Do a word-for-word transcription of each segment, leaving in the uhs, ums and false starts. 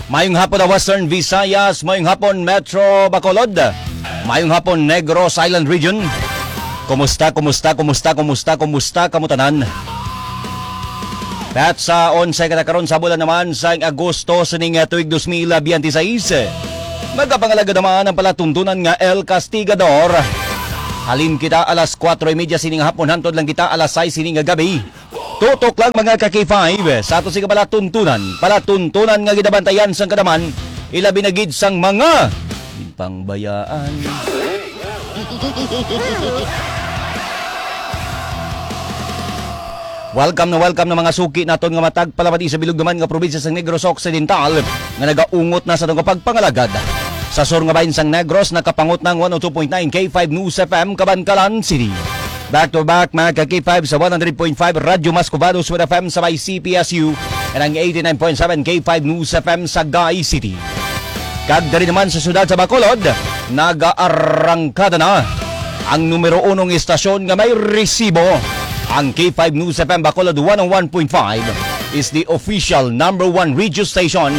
Mayong hapon, ah, Western Visayas. Mayong hapon, Metro Bacolod. Mayong hapon, Negros Island Region. Kumusta, kumusta, kumusta, kumusta, kumusta kamo tanan? At sa onse ka na karon sa bulan naman sang Agosto sining, ah, tuig dos mil biyente seis, magapangalagad naman ang palatuntunan nga El Castigador. Halin kita alas kuwatro y media sining hapon, hantod lang kita alas sais sining gabi. Tutok lang, mga ka-K five, sa ato sing palatuntunan. Palatuntunan nga ginabantayan sang kadaman, ilabi na gid sang mga ginpangbayaan. Welcome na welcome na, mga suki naton nga matag palamati sa bilog naman nga probinsya sang Negros Occidental, nga nagaungot na sa atong pagpangalagad. Sa sur nga bahin sang Negros, nakapangot na ang one oh two point nine K five News F M, Kabankalan City. Back to back, mga ka-K five, sa one hundred point five Radyo Mas Cubado, Sud F M sa may C P S U, and ang eighty-nine point seven K five News F M sa Gay City. Kag diri naman sa siyudad sa Bacolod, nagaarangkada na ang numero unong istasyon nga may resibo. Ang K five News F M Bacolod one oh one point five is the official number one radio station,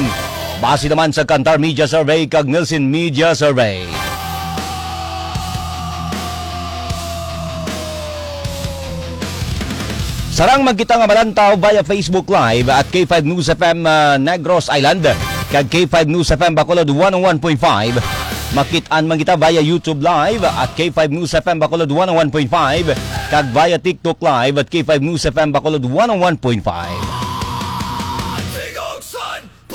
base naman sa Kantar Media Survey kag Nielsen Media Survey. Sarang man kita nga malantaw via Facebook Live at K five News F M, ah, Negros Island, kag K five News F M Bacolod one oh one point five. Makit-an man kita via YouTube Live at K five News F M Bacolod one oh one point five, kag via TikTok Live at K five News F M Bacolod one oh one point five.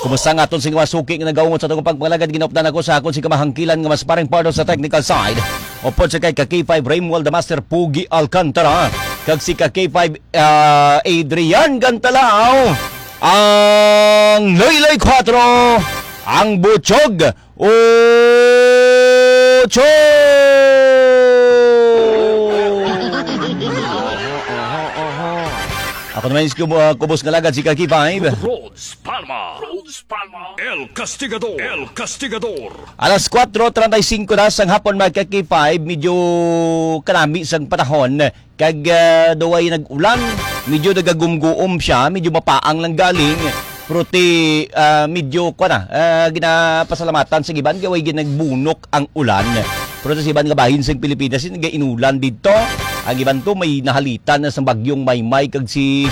Kumusta nga aton sing mga suki nga nagaungot sa atong pagpangalagad? Ginaupdan ako sa akon sing kamahangkilan nga mas paring partner sa technical side. Upod sa kay ka K five Raymwald the Master Pugi Alcantara, kag si ka K five, ah, Adrian Gantalao, ang Loyloy Cuatro, ang Butchog Ocho! Ako naman si kubo-, ah, kubos nga lagad, si ka K five. Rhodes Palma. Rhodes Palma. El Castigador. El Castigador. Alas kuwatro treinta y cinco na sang hapon, mga ka K five. Medyo kanami sang panahon. Kag, ah, daw ay nag-ulan, medyo nagagumguom siya, medyo mapaang lang galing. Pero ti, ah, medyo, kwa na, ah, ginapasalamatan sa iban, kay way ginagbunok ang ulan. Pero sa iban nga bahin sa Pilipinas, nagainulan dito. Ang iban to, may nahalitan na sa bagyong Maymay, kag si,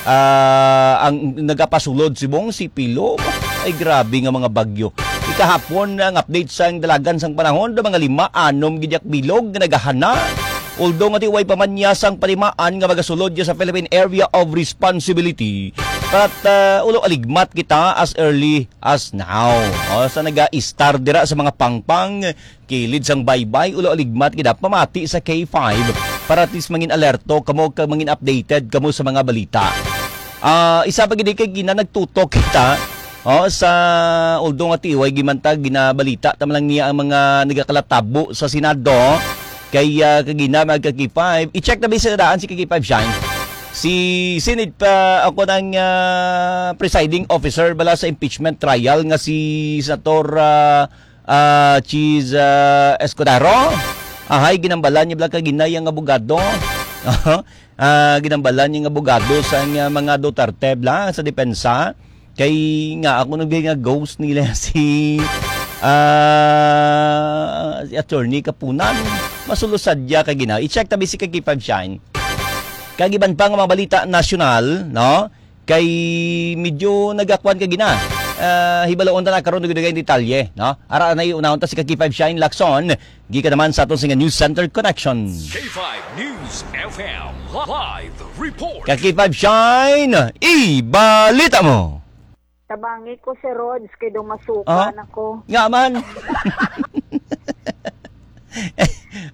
ah, ang nagapasulod si Bong, si Pilo. Ay, grabe nga mga bagyo. Ikahapon, ang update sang dalagan sang panahon, do mga lima, anom, gidyak bilog, nga nagahana. Although nga ti way pa man niya sang panimaan nga magasulod niya sa Philippine Area of Responsibility, but, uh, ulo aligmat kita as early as now. O, sa naga-istar dira sa mga pangpang, kilid sang baybay, ulo aligmat kita pamati sa K five para at least mangin alerto kamo kag mangin updated kamo sa mga balita. Ah, isa pa gid kay gina nagtutok kita, oh, sa, although nga tiway gimantag ginabalita ta man lang niya ang mga nagakalatabo sa Senado. Kay, ah, kagina, mga ka-K five, i-check na ba sa daan si ka K five Shine? Si Senate pa ako ng, ah, presiding officer bala sa impeachment trial nga si Senator, ah, ah, Chiz, ah, Escudero. Ahay, ginambalan niya bala kagina yang abogado. Ah, ginambalan niya nga abogado sa nga mga Duterte bala sa depensa. Kay nga ako nag nga ghost nila si, ah, si Attorney Kapunan. Masulo sadya kagina. I-check tabi si ka K five Shine. Kag iban pa nga mga balita nasyonal, no? Kay medyo nagakuan kagina. Ah, hibaloon ta na karon, dugay-dugay ang detalye, no? Ara na, unahon ta si ka K five Shine Lacson, gikan naman sa aton sing News Center Connection. K five News F M live report. Ka K five Shine, ibalita mo. Tabangi ko si Rods kay daw masuka Ah? na ko. Nga man.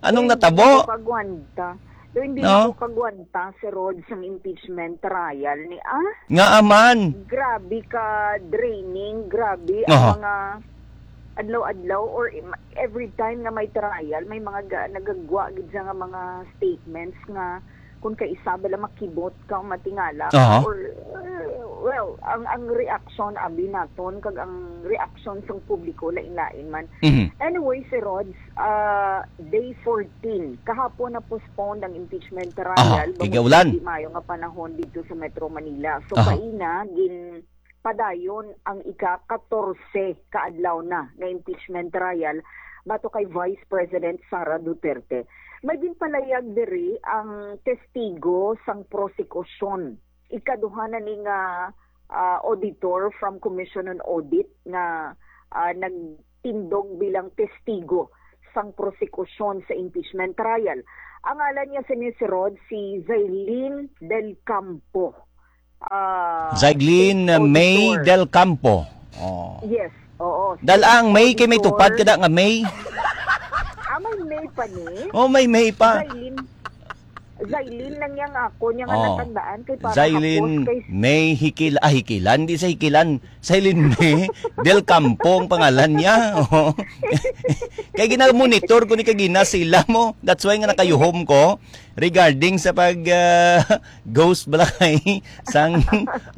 Anong Hindi natabo? ako kagwanta. Daw hindi No? ako kagwanta si Rods ang impeachment trial ni, ah? Nga aman. Grabe ka draining, grabe ang Aha. mga adlaw-adlaw or im-, every time nga may trial, may mga ga-, nagagwa gid siya nga mga statements nga kung kaisa bala makibot ka o matingala ka Aha. or, uh, well, ang, ang reaction abi naton kag ang reaction sang publiko lain-lain man. Mhm. Anyway, si Rods, ah, day fourteen, kahapon na postponed ang impeachment trial Aha, bangod igaulan. sa di maayo nga panahon dito sa Metro Manila. So, Aha. kaina, gin-, padayon ang ika-katorse ka adlaw na nga impeachment trial batok kay Vice President Sara Duterte. May ginpalayag diri ang testigo sang prosekusyon. Ikaduha na ni nga, ah, auditor from Commission on Audit nga, ah, nagtindog bilang testigo sang prosekusyon sa impeachment trial. Ang ngalan niya sini, si Rod, si Zailin Del Campo. Ah, Zailin, uh, May auditor. Del Campo. Oh. Yes, oo. Dalang May kay may tupad kada nga May. Ah, may May pa ni? Oh, may May pa. Zailin. Zailin lang yang ako niya nga Oh. natandaan kay para Zailin hapos kay May Hikil-, ah, Hikilan, di sa Hikilan. Zailin May Del Campo ang pangalan niya. Oh. Kay gina-monitor ko ni kagina sila mo. That's why nga nakayuhom ko regarding sa pag, ah, ghost balay sang,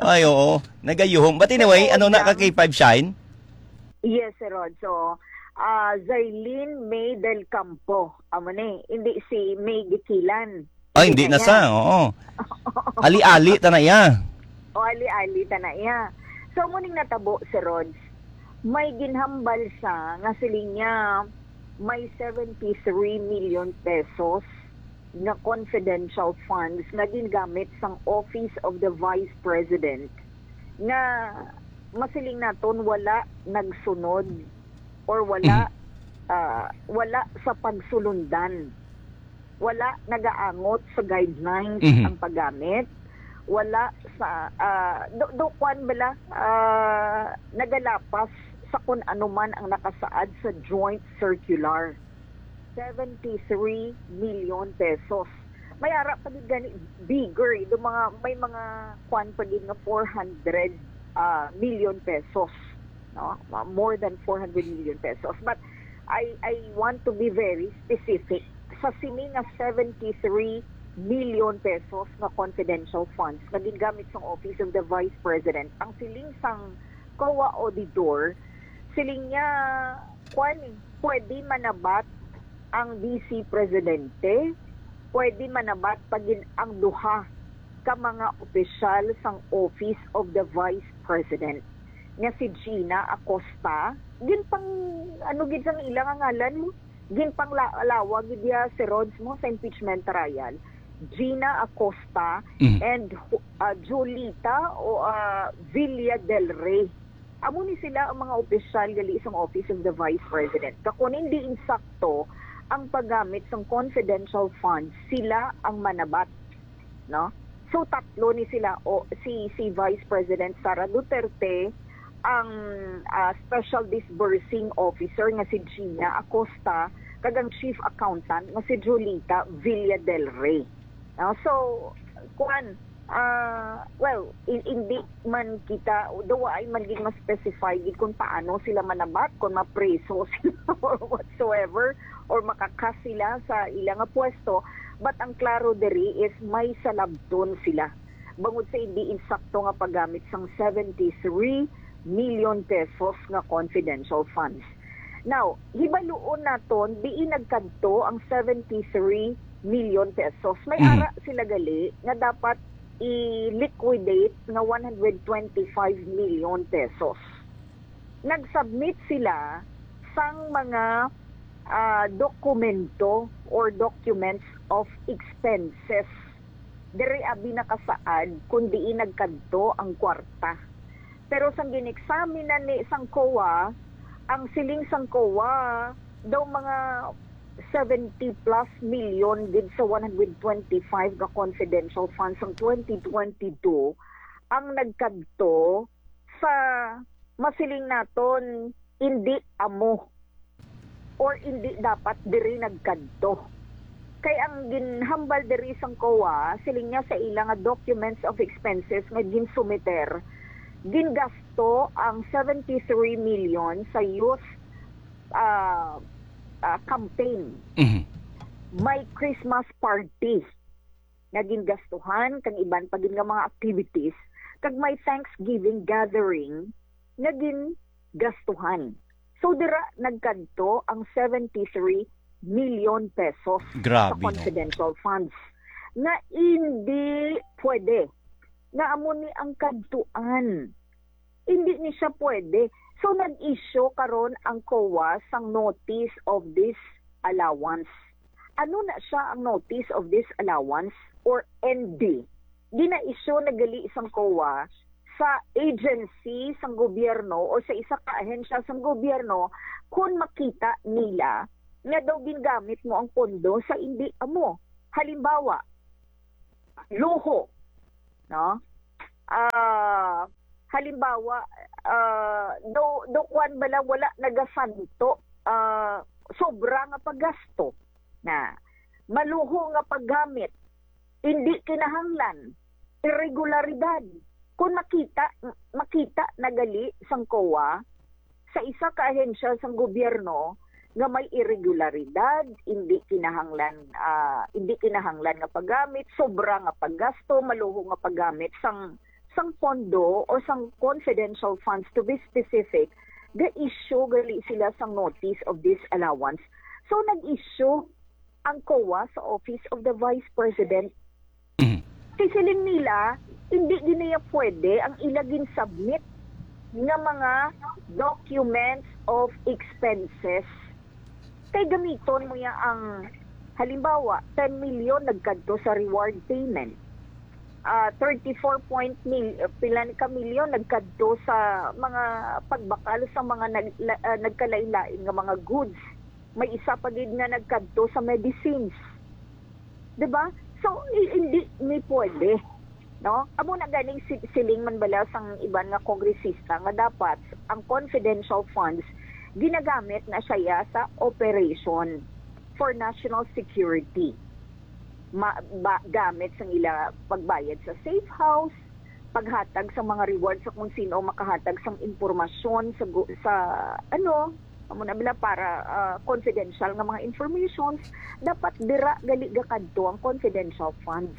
ay, oo, nagayuhom. But anyway, ano na ka, K five Shine? Yes, Sir Rod. So, ah, Zailin May Del Campo. Amo ni, hindi si May Gikilan. Ay, hindi na sa, oo. Ali-ali ta na iya. O, ali-ali ta na iya. So, muning natabo, Sir Rod, may ginhambal siya nga siling niya may seventy-three million pesos nga confidential funds nga gingamit sang Office of the Vice President nga masiling naton wala nagsunod or wala, Mhm. ah, wala sa pagsulundan. Wala nagaangot sa guidelines Mhm. ang paggamit. Wala sa, ah, do, do, kwan bala, ah, nagalapas sa kung ano man ang nakasaad sa joint circular. Seventy-three million pesos. May ara pa gid gani bigger, eh. Do mga, may mga kwan pa gid nga four hundred, ah, million pesos, no? Ma-, more than four hundred million pesos. But I, I want to be very specific. Sa sini nga seventy-three million pesos nga confidential funds nga gingamit sang Office of the Vice President, ang siling sang COA auditor, siling niya, kwan, eh, pwede manabat ang Vice Presidente, pwede manabat pa gid ang duha ka mga opisyal sang Office of the Vice President, nga si Gina Acosta. Ginpang, ano gid sang ila nga ngalan mo? Ginpanglawag gid niya si Rods mo sa impeachment trial. Gina Acosta Mhm. and, uh, Julita o, uh, Villa del Rey. Amo ni sila ang mga opisyal gali sang Office of the Vice President. Kakon hindi insakto ang paggamit sang confidential funds, sila ang manabat, no? So, tatlo ni sila, o si, si Vice President Sara Duterte, ang, ah, Special Disbursing Officer nga si Gina Acosta, kag ang Chief Accountant nga si Julita Villa del Rey. No? So, kuan, ah, well, in, hindi man kita, daw ay man gid ma-specify gid kung paano sila manabat, kung mapreso sila or whatsoever, or makakas sila sa ila nga pwesto. But ang klaro diri is may salabton sila bangod sa hindi insakto nga paggamit sang seventy-three million pesos nga confidential funds. Now, hibaluon naton diin nagkadto ang seventy-three million pesos. May Mhm. ara sila gali nga dapat i-liquidate nga one hundred twenty-five million pesos. Nag-submit sila sang mga, ah, dokumento or documents of expenses. Diri abi nakasaad kung diin nagkadto ang kwarta. Pero sang gin-examine na ni sang COA, ang siling sang COA daw mga seventy plus million gid sa one hundred twenty-five ka confidential funds sang twenty twenty-two ang nagkadto sa masiling naton hindi amo or hindi dapat diri nagkadto. Kay ang ginhambal diri sang COA, siling niya sa ila nga documents of expenses nga ginsumiter, gingasto ang seventy-three million sa youth, ah, ah, campaign. Mhm. May Christmas party nga gingastuhan kang iban pa gid nga mga activities, kag may Thanksgiving gathering nga gingastuhan. So, dira nagkadto ang seventy-three million pesos Grabe, sa no? confidential funds nga hindi pwede, nga amo ni ang kadtuan Hindi ni siya pwede. So, nag-issue karon ang COA sang notice of disallowance. Ano na siya ang notice of disallowance or N D? Gina-issue na gali sang COA sa agency sang gobyerno o sa isa ka ahensya sang gobyerno kung makita nila nga daw gingamit mo ang pondo sa indi amo. Halimbawa, luho, no? Ah, halimbawa, ah, do do kwan bala, wala nagasanto, ah, sobra nga paggasto na maluho nga paggamit, hindi kinahanglan, irregularidad. Kung makita makita na gali sang COA, sa isa ka ahensya sang gobyerno nga may irregularidad, hindi kinahanglan, ah, hindi kinahanglan nga paggamit, sobra nga paggasto, maluho nga paggamit sang sang pondo o sang confidential funds, to be specific, ga-issue gali sila sang notice of disallowance. So, nag-issue ang COA sa Office of the Vice President. Mhm. Kay siling nila, hindi gid niya pwede ang ila gin-submit nga mga documents of expenses. Kay gamiton mo ya ang, halimbawa, ten million nagkadto sa reward payment. Ah, thirty-four point mil, pila ni ka milyon nagkadto sa mga pagbakal sa mga nag-, la-, ah, nagkalain-lain nga mga goods. May isa pa gid nga nagkadto sa medicines. 'Di ba? So, i-, hindi ni pwede, no? Amo na ganing si-, siling man bala sang iban nga kongresista nga dapat ang confidential funds ginagamit na siya sa operation for national security. Ma-, ba-, gamit sang ila pagbayad sa safe house, paghatag sa mga reward sa kung sino makahatag sang impormasyon sa gu-, sa, ano, amo na bala para, ah, confidential nga mga informations, dapat dira gali gakadto ang confidential funds.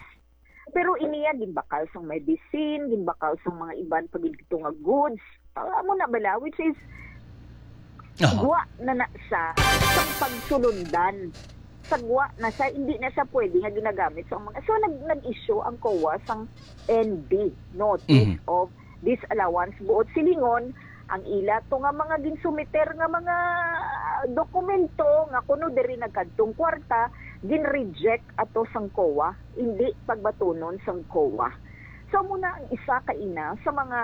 Pero iniya ginbakal sang medicine, ginbakal sang mga iban pa gid nga goods. Ah, amo na bala, which is Aha. gwa na na sa sang pagsulundan. Sagwa na siya, hindi na siya pwede nga ginagamit sa mga, so, nag-, nag-issue ang COA sang N D, notice Mhm. of disallowance. Buot silingon, ang ila to nga mga ginsumiter nga mga dokumento nga kuno diri nagkadtong kwarta, gin-reject ato sang COA, hindi pagbatunon sang COA. So, amo na ang isa ka ina sa mga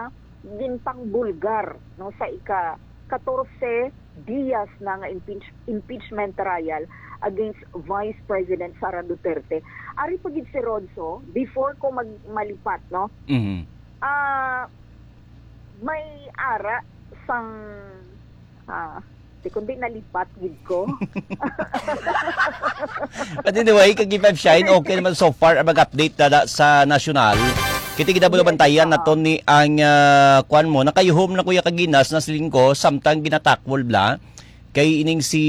ginpangbulgar, no, sa ika katorse Diaz na nga impeach-, impeachment trial against Vice President Sara Duterte. Ari pa gid si Rodso, before ko mag-, malipat, no? Mhm. Ah, may ara sang, ah, di kundi nalipat gid ko. But anyway, kag Five Shine, okay naman so far ang mag-update na sa nasyonal. Kita gid ang Yes, bantayan na to ni ang, ah, kwan mo. Nakayuhom na kuya kaginas na siling ko, samtang ginatakwol bla. Kay ining si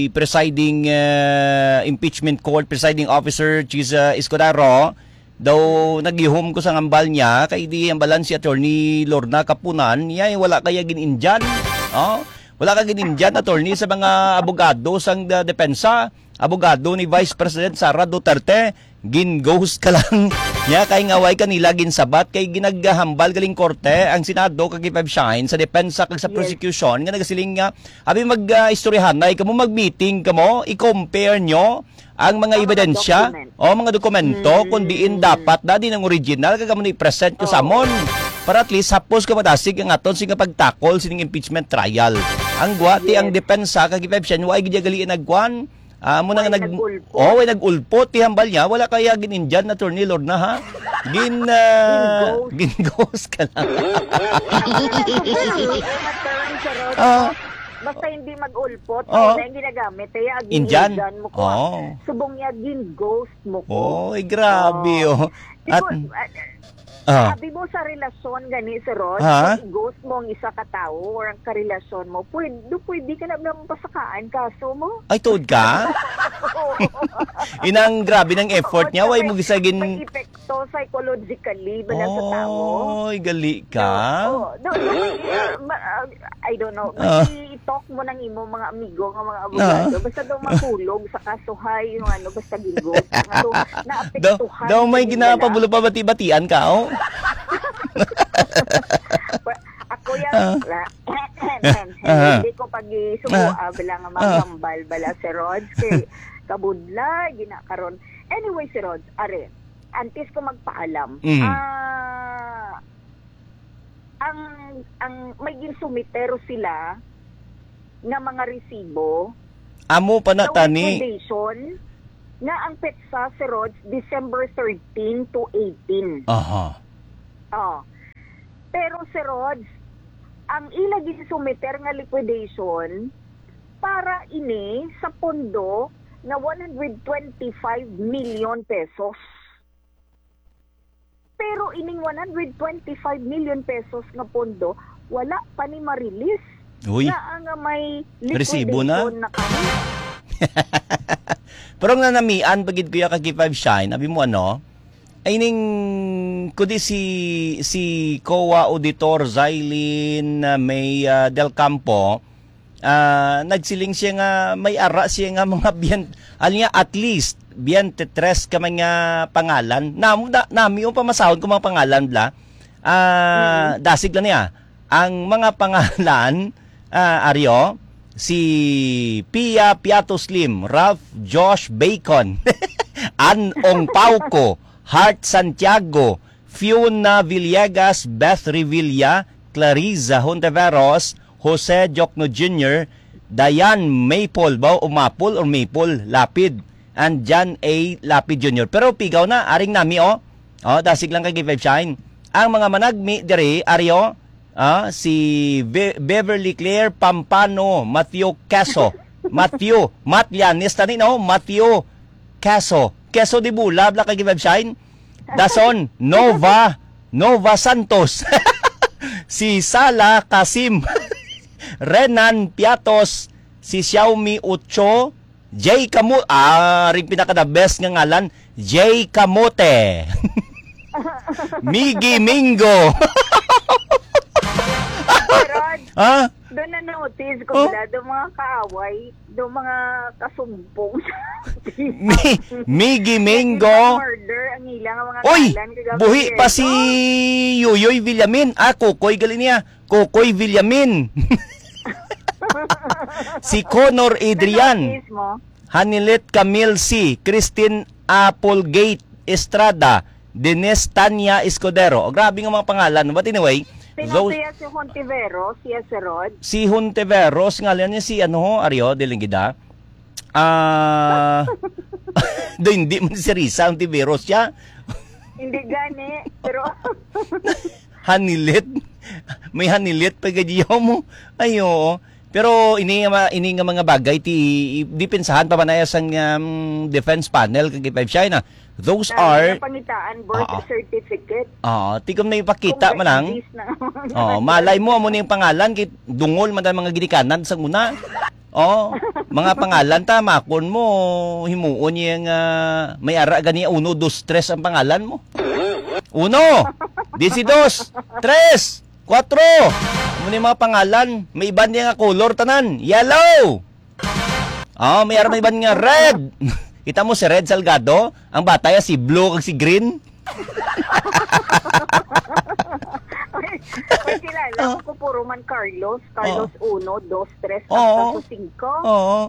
presiding, ah, impeachment court presiding officer, Chiz, ah, Escudero, daw nagyuhom ko sa ngambal niya, kay di ang balan si Attorney Lorna Kapunan, niya wala kaya gin-Indian. Oh, wala ka gin-Indian, attorney, sa mga abogado sang, ah, depensa. Abogado ni Vice President Sara Duterte, gin-ghost ka lang. Niya kay nga way kanila ginsabat kay ginaghambal galing korte ang Senado kag Five Shine sa depensa kag sa Yes. prosecution nga nagasiling nga abi mag, ah, istoryahanay kamo mag-meeting kamo, i-compare nyo ang mga Ang mga ebidensya document. o mga dokumento Mm. kung diin dapat na din ang original kag amo ni present ko sa Oo. amon. Para at least hapos ka madasig ang aton sing pagtakol sining impeachment trial. Ang gwati ang Yes. depensa kag Five Shine wa gid gali nagkuan. Ah, amo na nga Way nag-, nag-ulpot. Oh, way nag-ulpot, tihambal niya, wala kaya gin-Indian, Attorney Lorna, ha? Gin, ah, Gin-ghost. gin-ghost ka lang. Ang term, Charot, Ah. basta hindi mag-ulpot, Ah. na yung ginagamit, kaya Indian? gin-Indian mo ko. Oh. Subong niya, gin-ghost mo ko. Oh, ay, grabe, Oh. oh. Di At ko, ah, Ah. Sabi mo sa relasyon gani, Sir Ron, Ha? kung i-ghost mo ang isa ka tawo or ang karelasyon mo, pwede, pwede ka na lang pasakaan kaso mo. Ay, tuod ka? Oo. Inang grabe ng effort Oo, niya, way may, mo gisagin- may epekto psychologically bala sa tawo. Oy, gali ka. Oo. No, no, no, ma-, ah, I don't know. Ah. I-talk mo nang imo mga amigo nga mga abogado. Ah. Basta daw mahulog sa kasuhay, yung ano, basta gin-ghost. Nga daw, naapektuhan Daw, daw may nila. Ginapabulo pa bati-batian ka, oh. Well, ak-, Yes, ah. Hindi ko pag-isuko, ah, bala nga makambal, bala, Sir Rods, kay kabudla, ginakaron. Anyway, Sir Rods, are, antes ko magpaalam, mm, ah, ang, ang may ginsumiter sila nga mga resibo. Amo pa na, sa tani, liquidation, nga ang petsa, Sir Rods, December thirteen to eighteen. Aha. Oh. Pero, Sir Rods, ang ila ginsumiter nga liquidation para ini sa pondo nga one hundred twenty-five million pesos. Pero ining one hundred twenty-five million pesos nga pondo, wala pa ni ma-release. Uy. Naa nga may resibo na, liquidation na kami. Pero ang nanamian pa gid, Kuya Kaki Five Shine, abi mo ano? Ay ning, kundi si, si COA Auditor Zylene, ah, May, ah, Del Campo, ah, nagsiling siya nga may ara siya nga mga biyan, alam niya, at least, biyente tres ka man nga pangalan. Namo, na, nami yung pamasahon ko mga pangalan, bla. Ah, mm, dasig lang niya. Ang mga pangalan, ah, Aryo, si Pia Piato Slim, Ralph Josh Bacon, An Ong Pauco, Heart Santiago, Fiona Villegas, Beth Revilla, Clariza Hontiveros, Jose Jokno Junior, Diane Maple ba, o Maple or Maple Lapid, and John A Lapid Junior. Pero pigaw na, aring nami, oh. Oh, dasig lang kay Give Shine. Ang mga managmi diri, Aryo, ah, si Be-, Beverly Claire Pampano, Matthew Caso, Matthew, Matlianis, tani, no? Matthew Caso. Caso de Bula, bla kay Give Shine. Dason, Nova, Nova Santos. Si Sala Kasim. Renan Piatos, si Xiaomi Ocho, Jay Kamu-, ah, ring pinaka the best nga ngalan, Jay Kamote. Miggy Mingo. Pero, ha? Doon na notice ko, oh, wala, doon mga kaaway, doon mga kasumpong. Mi-, Miggy Mingo. Murder ang ilang mga, oy, kalan, kagabi, buhi pa eh, si, oh, Yoyoy Villamin. Ah, Kokoy gali niya. Kokoy Villamin. Si Connor Adrian. Ano, mismo? Hanilet Camille C, Christine Applegate Estrada, Denise Tanya Escudero. O, grabe nga mga pangalan. But anyway, sino those, siya, si Hontiveros, si Acerod? Si Hontiveros, ngalan niya si ano, Ario, Dilingida. Ah, do, hindi man si Risa Hontiveros siya. Hindi gani, pero Hanilit? May hanilit pa gid mo? Ay, oo. Pero ini nga ma-, ini nga mga bagay ti depensahan pa man sang, um, defense panel kag Five Shine, ah. Those are pangitaan, birth, oo, certificate. Oo, tigom na ipakita man ang, kung may English na. Oo, malay mo, amo ni ang pangalan, kay dungol man ang mga ginikanan sa una. Oh, mga pangalan ta, makon mo, himuon niya nga may ara gani uno, dos, tres ang pangalan mo. Uno, disi dos, tres, kuwatro. Amo ni mga pangalan, may iban niya nga color tanan. Yellow. Oh, may ara may iban nga red. Kita mo si Red Salgado, ang bata ya si blue kag si green. May, may kilala ko, puro man Carlos. Carlos, oh, uno, dos, tres, oo, hasta sa singko. Oo.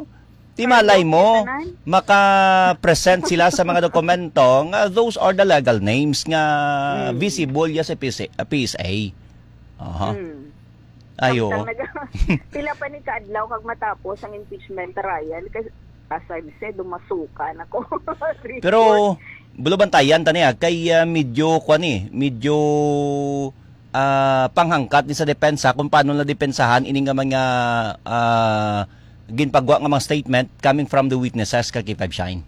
Di malay mo, maka-present sila sa mga dokumento nga those are the legal names nga, mm, visible ya sa P S A, ah, P S A. Aha. Mm. Ayo. Samtang naga-, pila pa ni ka adlaw kag matapos ang impeachment trial? Kasi, as I've said, dumasuka na ko. Pero, report. Bulo bantayan ta niya kay, ah, medyo, kuwan eh, medyo, ah, panghangkat ni sa depensa kung paano na depensahan ini nga mga, ah, ginpagwa nga mga statement coming from the witnesses, ka K five Shine.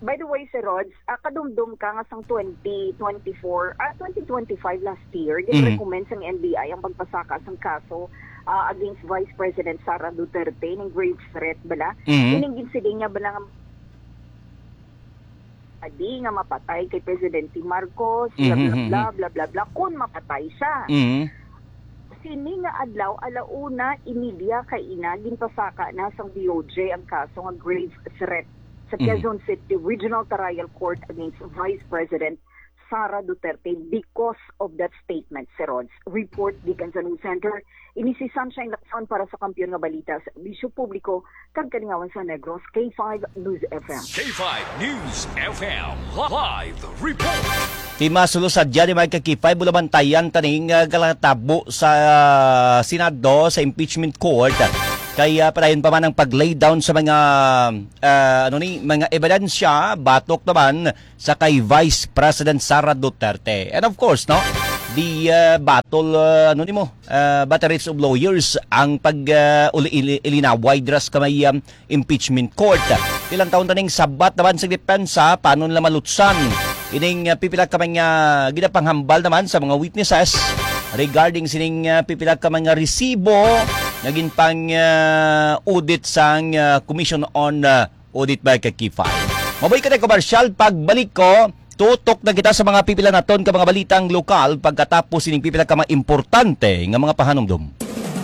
By the way, Sir Rods, ah, kadumdum ka nga sang twenty twenty-four, ah, twenty twenty-five last year, mhm, gin-recommend sang N B I ang pagpasaka sang kaso, ah, against Vice President Sara Duterte, ning grave threat bala. Mhm. Ining ginsiling niya bala nga adi nga mapatay kay Presidente Marcos, bla, bla, mhm, bla, mhm, bla, bla, bla, kun mapatay siya. Mhm. Sini nga adlaw, alauna y media kaina, ginpasaka na sang D O J ang kaso nga grave threat sa, mhm, Quezon City Regional Trial Court against Vice President Sara Duterte because of that statement, Sir Rods. Report gikan sa News Center, ini si Sunshine Lacson para sa Kampiyon nga Balita, Serbisyo Publiko, kag Kalingawan sa Negros, K five News F M. K five News F M live report. Tima sulo sa dyan, mga ka-K five, bulabantayan taning uh, galatabo sa uh, Senado, sa impeachment court. Kaya padayon pa man ang pag-lay down sa mga uh, ano ni mga ebidensya batok naman sa kay Vice President Sara Duterte. And of course, no, the uh, battle uh, ano nimo, uh, batteries of lawyers ang pag uh, uli- ili- ilinaway dras kamay um, impeachment court. Ilang taon taning sabat naman sa depensa, paano nila malutsan ining uh, pipila ka mga ginapanghambal naman sa mga witnesses regarding sining uh, pipila ka mga resibo nga ginpang uh, audit sang uh, Commission on uh, Audit by Kakify. Mabuhay ka na komersyal, pagbalik ko, tutok na kita sa mga pipila naton ka mga balitang lokal pagkatapos sining pipila ka mga importante nga mga pahanumdom.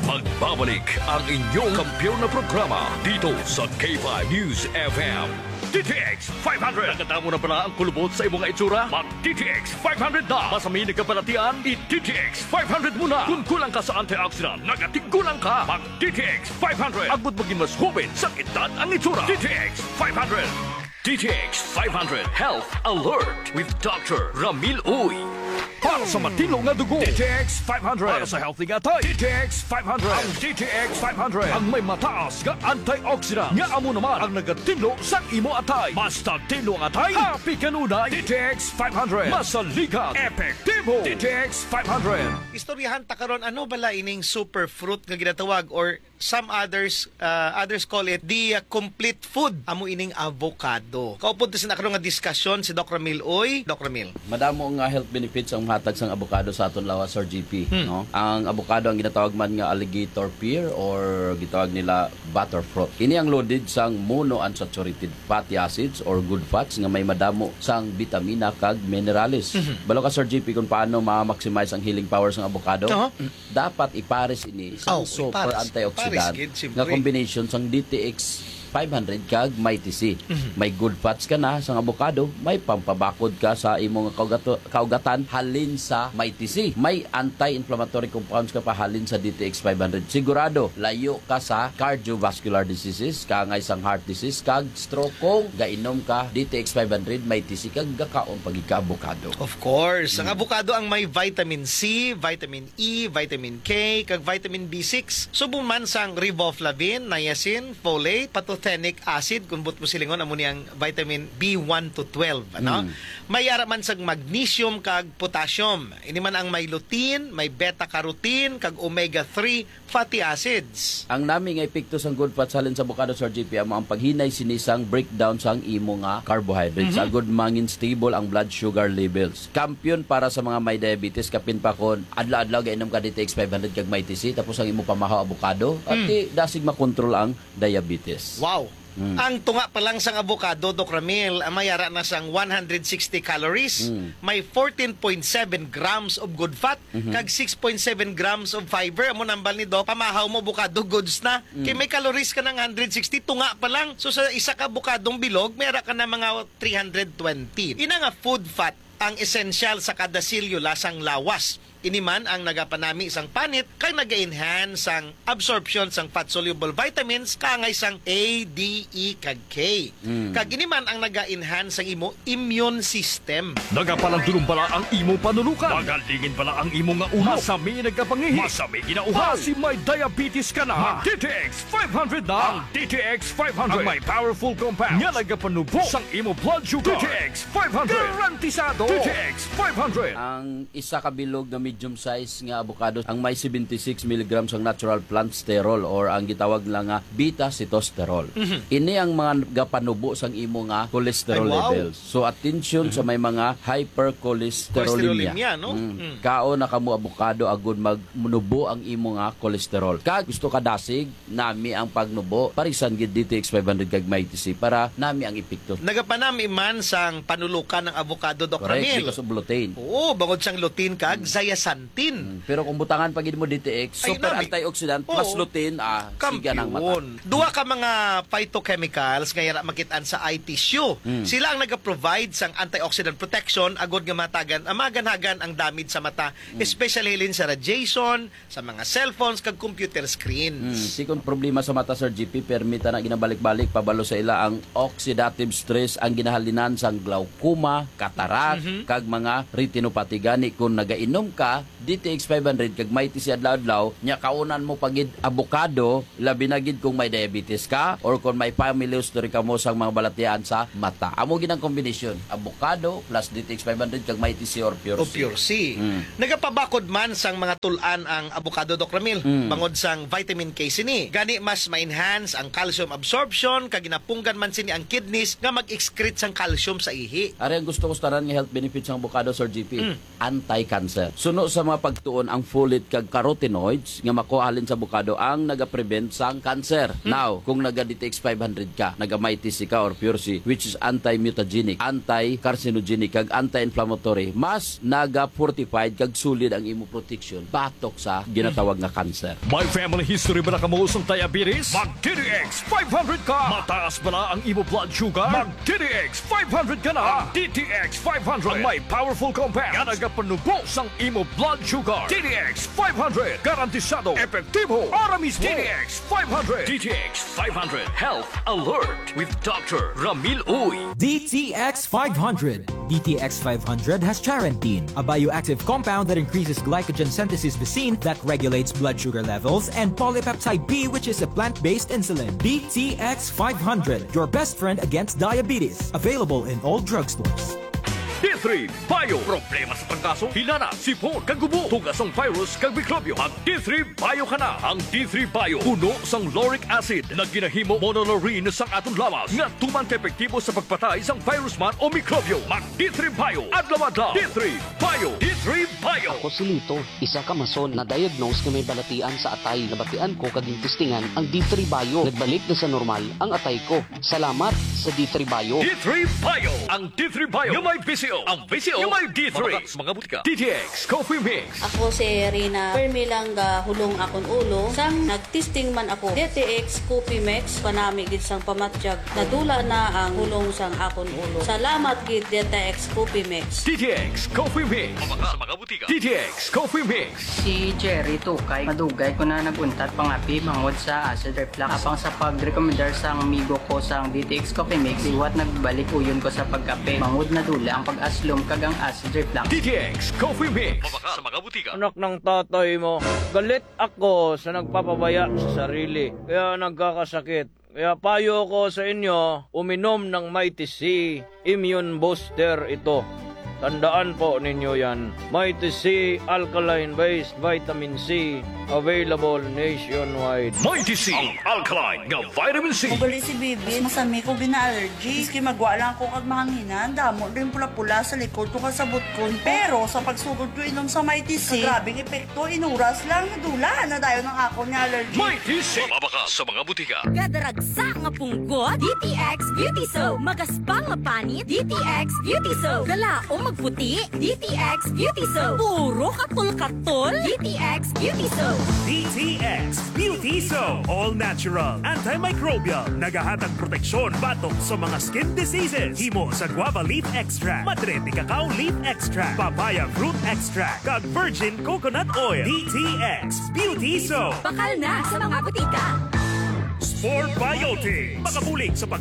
Magbabalik ang inyong kampiyon na programa dito sa K five News F M. D T X five hundred. Nakatamo na pala ang kulubot sa imong itsura? Mag D T X five hundred na. Masami nagkabalatian, i D T X five hundred muna. Kung kulang ka sa antioxidant, nagatigulang ka. Mag D T X five hundred. Agud maging mas hubin sa edad ang itsura. D T X five hundred. D T X five hundred Health Alert with Doctor Ramil Uy. Para sa matino nga dugo, D T X five hundred. Para sa healthy nga atay, D T X five hundred. Ang D T X five hundred ang may mataas nga antioxidant, nga amo naman ang nagatinlo sa imo atay. Mas tinlo ang atay, happy kanunay. D T X five hundred. Masaligan, epektibo. D T X five hundred. Istoryahan ta karon, ano bala ining superfruit nga ginatawag, or some others uh, others call it the uh, complete food? Amo ining avocado. Kaupod ta sa nakaro nga diskusyon si Doc Ramil. Oy, Doc Ramil. Madamo nga health benefits ang mahatag sang avocado sa aton lawas, Sir G P, Hmm. no? Ang avocado ang ginatawag man nga alligator pear or gitawag nila butterfruit. Ini ang loaded sang monounsaturated fatty acids or good fats nga may madamo sang bitamina kag minerales. Mhm. Balo ka, Sir G P, kung paano ma-maximize ang healing power sang avocado? Aha. Dapat ipares ini sa Oh, super ipares. antioxidant Ipares gid, siyempre. nga combination sang D T X five hundred kag Mighty C. Mhm. May good fats ka na sa avocado, may pampabakod ka sa imo nga kaugato- kaugatan halin sa Mighty C. May anti-inflammatory compounds ka pa halin sa D T X five hundred. Sigurado, layo ka sa cardiovascular diseases, kaangay sang heart disease, kag stroke kung gainom ka D T X five hundred, Mighty C, kag gakaon pa gid ka avocado. Of course, ang Mm. avocado ang may vitamin C, vitamin E, vitamin K, kag vitamin B six. Subong man sang riboflavin, niacin, folate, pantothenic acid, kung buot mo silingon, amo ni ang vitamin B one to twelve, ano? Mm. May ara man sang magnesium kag potassium. Ini man ang may lutein, may beta carotene, kag omega three fatty acids. Ang nami nga epekto sang good fats halin sa avocado, Sir G P, amo ang paghinay sini sang breakdown sang imo nga carbohydrates. Mhm. Agud mangin stable ang blood sugar levels. Kampiyon para sa mga may diabetes, kapin pa kon adlaw-adlaw gainom ka D T X five hundred kag Mighty C, tapos ang imo pamahaw avocado, at Mm. di dasig makontrol ang diabetes. Wow. Mm. Ang tunga pa lang sang avocado, Doc Ramil, ah, may ara na sang one hundred sixty calories, Mm. may fourteen point seven grams of good fat, Mhm. kag six point seven grams of fiber. Amo nambal ni Doc, pamahaw mo avocado, goods na. Mm. Kay may calories ka ng hundred sixty, tunga pa lang. So sa isa ka avocadong bilog, may ara ka na mga three hundred twenty. Ina nga food fat ang esensyal sa kada selula sang lawas. Ini man ang nagapanami sang panit kag naga-enhance sang absorption sang fat-soluble vitamins kaangay sang A, D, E, kag K. Mm. Kag ini man ang naga-enhance sang imo immune system. Nagapalandulong bala ang imo panulukan. Magalingin bala ang imo nga ulo. Masami nagkapangihi. Masami ginauhaw. Basi may diabetes ka na. Mag D T X five hundred na. Ang D T X five hundred. Ang may powerful compound nga nagapanubo sang imo blood sugar. D T X five hundred. Garantisado. D T X five hundred. Ang isa ka bilog nga medium size nga avocado ang may seventy-six milligrams ang natural plant sterol or ang gitawag nila nga beta sitosterol. Mhm. Ini ang mga gapanubo sang imo nga cholesterol Ay, wow. levels. So, attention sa Mhm. may mga hypercholesterolemia. Cholesterolemia, no? Mm. Mm. Kaon na kamo avocado agud magnubo ang imo nga cholesterol. Kag gusto ka dasig, nami ang pagnubo, parisan gid D T X five hundred kag Mighty C para nami ang epekto. Nagapanami man sang panulukan ang avocado, Doc Correct, Ramil. Because of lutein. Oo, bangod sang lutein kag Mm. zeaxanthin. Mm, pero kung butangan pa gid mo D T X, ay, super nami. Antioxidant plus Oo. Lutein, ah, siga ng mata. Kampiyon. Duha ka mga phytochemicals nga yara makit-an sa eye tissue. Mm. Sila ang nagaprovide sang antioxidant protection agod nga matagan, ah, maganhagan ang damage sa mata, Mm. especially hilin sa radiation, sa mga cellphones kag computer screens. Mm, sikon problema sa mata, Sir G P, permi ta na ginabalik-balik pabalo sa ila ang oxidative stress ang ginahalinan sang glaucoma, cataract, Mhm. kag mga retinopathy. Gani, kung nagainom ka D T X five hundred kag Mighty C adlaw-adlaw, nya kaunan mo pa gid avocado, labi na gid kung may diabetes ka or kung may family history ka mo sang mga balatian sa mata. Amo gid ang kombinasyon, avocado plus D T X five hundred kag Mighty C or Pure O C. Pure C. Mm. Nagapabakod man sang mga tul-an ang avocado, Doc Ramil, Mm. bangod sang vitamin K sini. Gani, mas ma-enhance ang calcium absorption, kag ginapunggan man sini ang kidneys nga mag-excrete sang calcium sa ihi. Ari ang gusto ko sa tanan nga health benefits sang avocado, Sir G P. Mm. Anti-cancer. Suno sa mga pagtuon, ang folate kag carotenoids nga makuha halin sa avocado ang nagaprevent sang cancer. Hmm. Now, kung naga D T X five hundred ka, naga Mighty C ka or Pure C, which is anti-mutagenic, anti-carcinogenic, kag anti-inflammatory, mas naga-fortified kag solid ang imo protection batok sa ginatawag nga cancer. May family history ba na kamo sang diabetes? Mag D T X five hundred ka! Mataas ba na ang imo blood sugar? Mag D T X five hundred ka na! Ang D T X five hundred ang may powerful compound nga nagapanubo sang imo blood sugar. D T X five hundred, garantisado, epektibo, ara mismo. D T X five hundred. D T X five hundred Health Alert with Doctor Ramil Uy. D T X five hundred. D T X five hundred has charantine, a bioactive compound that increases glycogen synthesis B C I N that regulates blood sugar levels, and polypeptide B, which is a plant-based insulin. D T X five hundred, your best friend against diabetes. Available in all drugstores. D three Bio. Problema sa trangkaso, hilana, sipon, kag gubo, tuga sang virus kag mikrobyo. Mag D three Bio ka na. Ang D three Bio puno sang lauric acid nga ginahimo monolaurin sang aton lawas nga tuman ka epektibo sa pagpatay sang virus man o mikrobyo. Mag D three Bio adlaw-adlaw. D three Bio. D three Bio. Ako si Lito, isa ka mason na diagnose nga may balatian sa atay. Nabatian ko kag gintistingan ang D three Bio. Nagbalik na sa normal ang atay ko. Salamat sa D three Bio. D three Bio. Ang D three Bio nga may V C O. Ang V C O nga may D three. Mabaka sa mga butika. D T X Coffee Mix. Ako si Rina. Permi lang gahulong akon ulo. Sang nagtesting man ako, D T X Coffee Mix, panami gid sang pamatyag. Nadula na ang hulong sang akon ulo. Salamat gid, D T X Coffee Mix. D T X Coffee Mix. Mabaka sa mga butika. D T X Coffee Mix. Si Jerry Tukay, madugay ko na nag-untat pangapi bangod sa acid reflux. Apang sa pagrekomendar sang amigo ko sang D T X Coffee Mix, liwat nagbalik uyon ko sa pagkape. Bangod nadula ang pag-aslom kag ang acid reflux. D T X Coffee Mix. Mabaka sa mga butika. Anak ng tatay mo, galit ako sa nagpapabaya sa sarili, kaya nagkakasakit. Kaya payo ko sa inyo, uminom ng Mighty C Immune Booster ito. Tandaan po ninyo yan. Mighty C Alkaline Based Vitamin C, available nationwide. Mighty C, ang alkaline nga vitamin C. Ugali si Bibi, masami ko gina-allergy. Maski magwa lang ako kag mahanginan, damo din pula-pula sa likod ko kag sa butkon ko. Pero sa pagsugod ko inom sa Mighty C, grabing epekto, inuras lang, nadula na dayon ang akon nga allergy. Mighty C. Mabaka sa mga butika. Kadaragsa nga punggot, D T X Beauty Soap. Magaspang nga panit, D T X Beauty Soap. Galaom magputi, D T X Beauty Soap. Puro katol-katol, D T X Beauty Soap. D T X Beauty Soap. All natural, antimicrobial. Nagahatag proteksyon batok sa mga skin diseases. Himo sa guava leaf extract, madre de cacao leaf extract, papaya fruit extract, kag virgin coconut oil. D T X Beauty Soap. Bakal na sa mga butika. Spore Biotics. Makabulig sa pag